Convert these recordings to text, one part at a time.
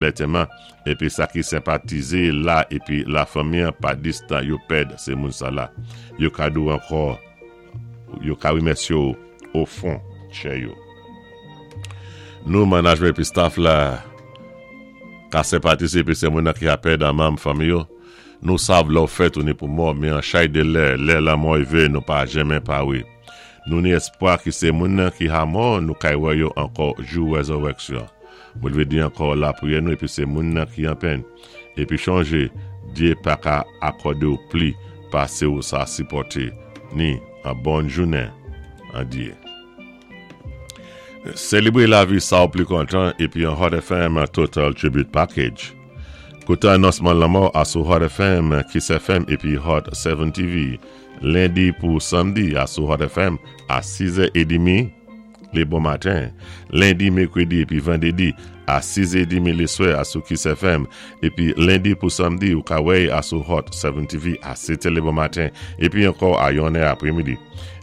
Lantèman, épi sa ki senpatizé la épi lafanmi-an pa distan yo pèd sé moun sa-la. Yo ka di-w ankò, yo ka wimèsyé-w ofon tchè yo. Nou, manajman épi staf la, ka senpatize épi sé moun-nan ki a pèd an manm fanmi yo. Nou sav lè-w fèt ou ni pou mò, men an chay de lè, lè lanmò rivé nou pa jenmen pawé. Nou ni èspwa ki sé moun-nan ki ha mò, nou kay wè yo ankò jou wèzòwèksyon. Mwen vlé di ankò lapriyè nou épi sé moun-nan ki an pèn. Épi chonjé, Dyé pa ka akòdé-w pli pasé ou sa sipòté, ni an bòn jounen an Dyé. Selebré lavi sa ou pli kontan épi an Hot FM Total Tribute Package. Kouté anonsman lanmò a sou Hot FM, Kiss FM épi Hot 7 TV. Lendi pou Samdi a sou Hot FM a 6 è edimi lé bon maten. Lendi, Mèkredi épi Vandédi a 6 è edimi lé swè a sou Kiss FM. Épi Lendi pou Samdi ou ka wè-y a sou Hot 7 TV a 7 è lé bon maten épi ankò a 1 è apré midi.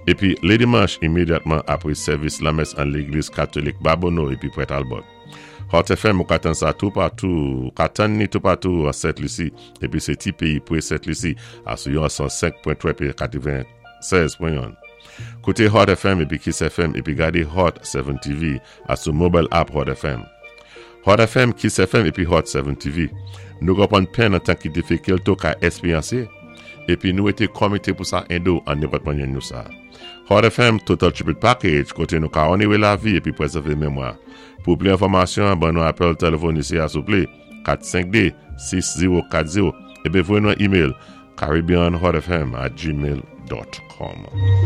Épi lé dimanch imédyatman apré sèvis lanmès an légliz katolik Babonneau épi Port Talbot. Hot FM ou ka tann sa toupatou, ou ka tann ni toupatou an Sent Lisi épi sé ti péyi pwé Sent Lisi a sou yon 105.3 épi 96.1. Kouté Hot FM épi Kiss FM épi gadé Hot 7 TV a sou mobile app Hot FM. Hot FM, Kiss FM épi Hot 7 TV. Nou konpwann pèn an tan ki difikil tou ka èspéryansé épi nou été komité pou sa édé-w an nenpòt manyè nou sa. Hot FM Total Tribute Package koté nou ka onoré lavi épi pwézèvé mémwa. Pou pli enfòmasyon, ban nou apèl tèléfòn isi a souplé, 452 6040 épi voyé nou an email caribbeanhotfm@gmail.com.